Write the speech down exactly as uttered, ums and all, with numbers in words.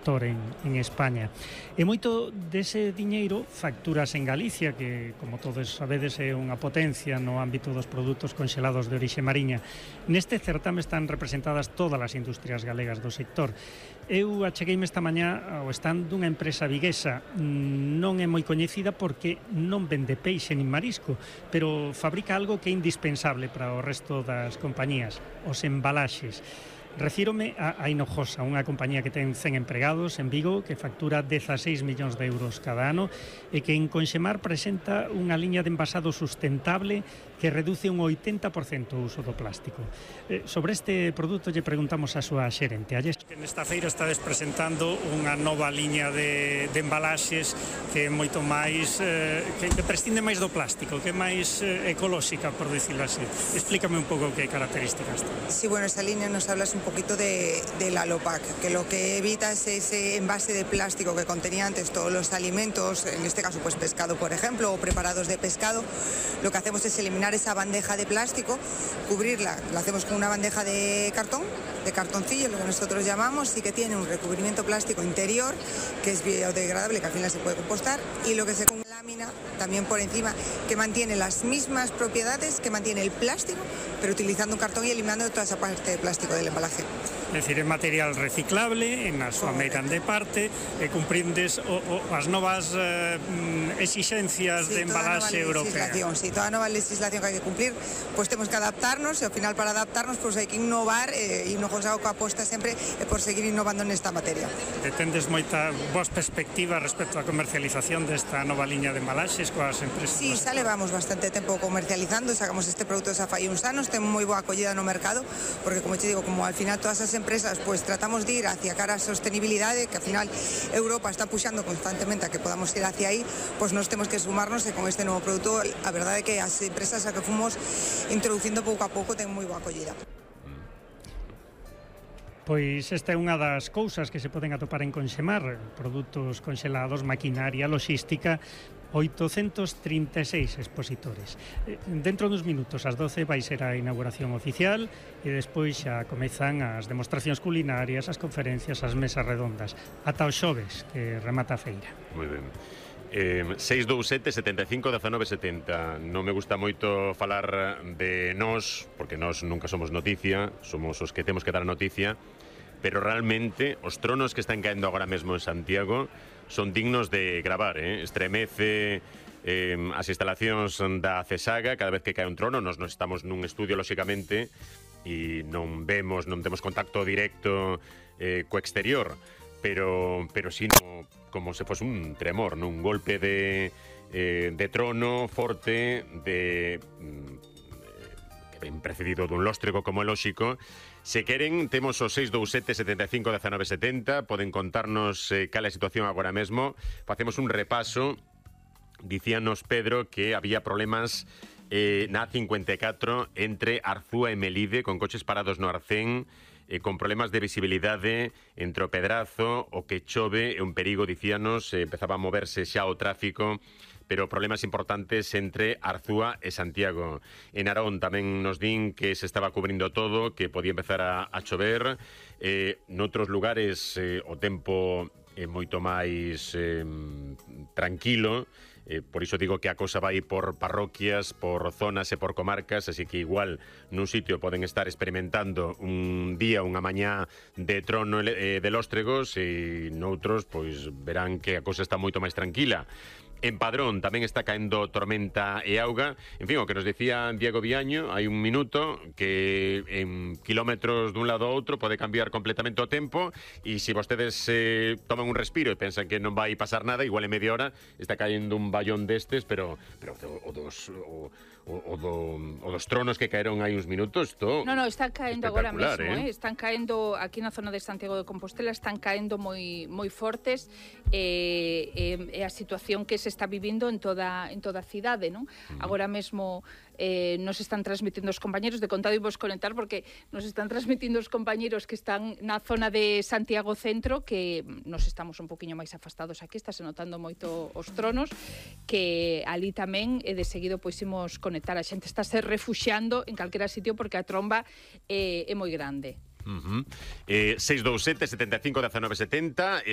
sector en, en España. E moito dese diñeiro facturas en Galicia, que, como todos sabedes, é unha potencia no ámbito dos produtos conxelados de orixe mariña. Neste certame están representadas todas as industrias galegas do sector. Eu achegueime esta mañá ao stand dunha empresa viguesa. Non é moi coñecida porque non vende peixe nin marisco, pero fabrica algo que é indispensable para o resto das compañías, os embalaxes. Refírome a, a Hinojosa, unha compañía que ten cen empregados en Vigo, que factura dezaseis millóns de euros cada ano e que en Conxemar presenta unha liña de envasado sustentable que reduce un oitenta por cento o uso do plástico. Eh, sobre este produto lle preguntamos a súa xerente. Nesta feira estades presentando unha nova liña de, de embalaxes que é moito máis, eh, que, que prescinde máis do plástico, que é máis eh, ecolóxica, por dicirlo así. Explícame un pouco que características ten. Sí, bueno, esa línea nos hablas un poquito de, de la Lopac, que lo que evita es ese envase de plástico que contenía antes todos los alimentos, en este caso pues pescado, por ejemplo, o preparados de pescado. Lo que hacemos es eliminar esa bandeja de plástico, cubrirla, la hacemos con una bandeja de cartón, de cartoncillo, lo que nosotros llamamos, y que tiene un recubrimiento plástico interior que es biodegradable, que al final se puede compostar, y lo que se con lámina también por encima, que mantiene las mismas propiedades que mantiene el plástico, pero utilizando un cartón y eliminando toda esa parte de plástico del embalaje. É dicir, é material reciclable, na súa meirande parte, e cumprindes o, o, as novas eh, exixencias sí, de embalaxe europea. Sí, toda nova legislación que hai que cumplir, pois pues temos que adaptarnos, e ao final para adaptarnos pois pues hai que innovar, e eh, Hinojosa o que aposta sempre é por seguir innovando nesta materia. E tendes moita boas perspectivas respecto á comercialización desta nova liña de embalaxes coas empresas? Sí, xa levamos bastante tempo comercializando, sacamos este produto xa fai uns anos, ten moi boa acollida no mercado, porque como te digo, como al final todas as empresas pues tratamos de ir hacia cara a sostenibilidade, que al final Europa está puxando constantemente a que podamos ir hacia aí, pues nos temos que sumarnos, e con este novo produto a verdade é que as empresas a que fomos introducindo pouco a pouco ten moi boa acollida. Pois esta é unha das cousas que se poden atopar en Conxemar, produtos conxelados, maquinaria, logística, oitocentos trinta e seis expositores. Dentro dos minutos, ás doce, vai ser a inauguración oficial e despois xa comezan as demostracións culinarias, as conferencias, as mesas redondas. Ata o xoves, que remata a feira. Moi ben. Eh, seis dous sete, setenta e cinco, dezanove, setenta. Non me gusta moito falar de nós, porque nós nunca somos noticia, somos os que temos que dar a noticia, pero realmente os tronos que están caendo agora mesmo en Santiago son dignos de gravar, eh? Estremece eh, as instalacións da CESAGA cada vez que cae un trono. Nos, nos estamos nun estudio, lóxicamente, e non vemos, non temos contacto directo eh, co exterior, pero, pero sí no, como se fose un tremor, ¿no? Un golpe de, eh, de trono forte, de mm, que ven precedido dun lóstrego, como é lóxico. Se queren, temos o seis dous sete, setenta e cinco, dezanove, setenta. Poden contarnos eh, cal é a situación agora mesmo. Facemos un repaso. Dicíanos Pedro que había problemas eh, na A cincuenta e catro entre Arzúa e Melide, con coches parados no Arcén, eh, con problemas de visibilidade entre o Pedrazo, o que chove, é un perigo, dicíanos, eh, empezaba a moverse xa o tráfico, pero problemas importantes entre Arzúa e Santiago. En Arón tamén nos din que se estaba cubrindo todo, que podía empezar a, a chover. Eh, noutros lugares eh, o tempo é moito máis eh, tranquilo. Eh, por iso digo que a cosa vai por parroquias, por zonas e por comarcas, así que igual nun sitio poden estar experimentando un día, unha mañá de trono eh, de lóstregos, e noutros pois verán que a cosa está moito máis tranquila. En Padrón tamén está caendo tormenta e auga. En fin, o que nos decía Diego Viaño hai un minuto, que en kilómetros dun lado a outro pode cambiar completamente o tempo, e se vostedes eh, toman un respiro e pensan que non vai pasar nada, igual en media hora está caendo un ballón destes, pero, pero o, o dos... O, O, o, do, o dos tronos que caeron hai uns minutos, todo. No, no, están caendo agora mesmo, eh? eh? Están caendo aquí na zona de Santiago de Compostela, están caendo moi moi fortes, e eh, eh, a situación que se está vivindo en toda en toda a cidade, non? Uh-huh. Agora mesmo eh, nos están transmitindo os compañeros, de contado vos conectar porque nos están transmitindo os compañeros que están na zona de Santiago Centro, que nos estamos un poquinho máis afastados aquí, está se notando moito os tronos, que ali tamén e de seguido pois imos conectar. A xente está se refuxiando en calquera sitio porque a tromba é, é moi grande. Uh-huh. eh, seis dous sete, setenta e cinco, dezanove, setenta.